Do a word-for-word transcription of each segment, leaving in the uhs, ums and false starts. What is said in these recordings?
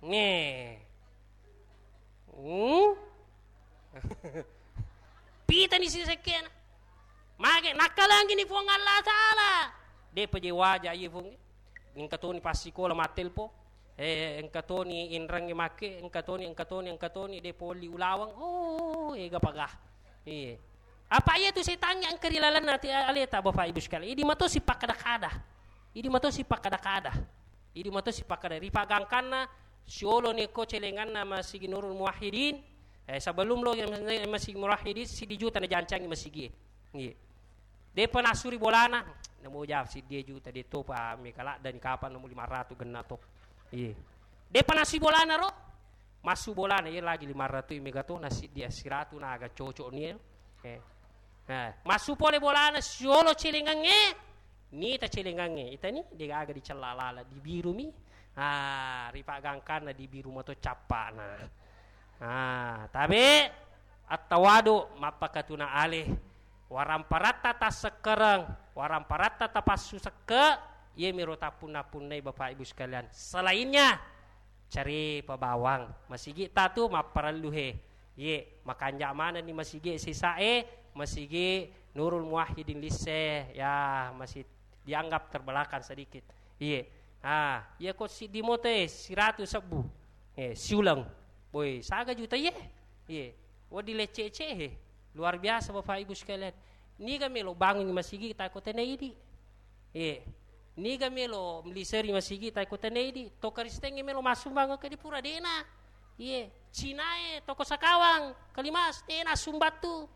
Nge. Hmm? Pitani sisekkena. Mage nakkalangi ni Puang Allah Ta'ala. Depa je waja iye Puang. Engka toni passikola mattelpo. Eh, engka toni inrengnge makke, engka toni, engka toni, engka toni, de polli ulaweng. Oh, ega paga. Iye. Apa iya tu setangnge engka ri lalenna ati aleta, Bapak Ibu sekalian. Idi mato sipakkada-kada. Idi mato sipakkada-kada. Idi mato sipakkada. Ripaggangkanna siolo neko celenganna Masigi Nurul Muwahhidin. Eh, sebelum lo Masigi Muwahhidin, sidi juta najancangi masigi. Iye. Depa nasuri bolana, namo jawab siddi juta de topa mega laddani kapang namo lima ratu genna to. Iye. Depa nasui bolana ro, massu bolana iya lagi lima ratu mega to, na siddi siratu na aga cocok ni. Eh. Nah, massu pole bolana siolo celengangnge, nita celengangnge, itani de gaga dicella lala, dibirumi. Ah, ripaggangkanna dibiru mato cappana. Ah, tabe attawadu mappakatuna ale. Waramparatta tassekkereng, waramparatta tapassu sekke, iyemiro tappunna-punnai Bapak Ibu sekalian. Selainnya, carepa bawang. Masigi ta tu mapparellu he. Ye, makanja maneng ni masigi sisae, masigi Nurul Muwahhidin lisse, ya masih dianggap terbelakang sedikit. Iye. Ah, iya ko siddi moto e, siratu sebbu. Eh, siuleng. Boy, saga juta iye. Iye. Wedding lecce-lecce he. Luar biasa Bapak Ibu sekalian. Niga melo bangun masigi ta ko tena idi. Iye. Niga melo meliseri masigi ta ko tena idi. To Kristen melo masumbang ke di pura dena. Iye. Cinae toko Sakawang, Kalimas, dena sumbang tu.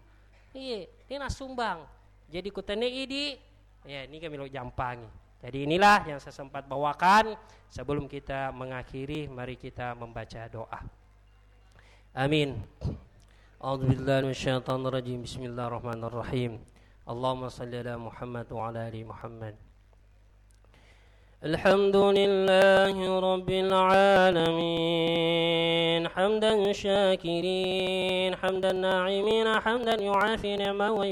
Iye, dena sumbang. Jadi ko tena idi, ya niga melo jampangi. Jadi inilah yang saya sempat bawakan. Sebelum kita mengakhiri, mari kita membaca doa. Amin. A'udzubillahi minasyaitonirrajim. Bismillahirrahmanirrahim. Allahumma salli ala Muhammad wa ala ali Muhammad. الحمد لله رب العالمين، حمدا شاكرين، حمدا ناعمين، حمدا يوافي نعمه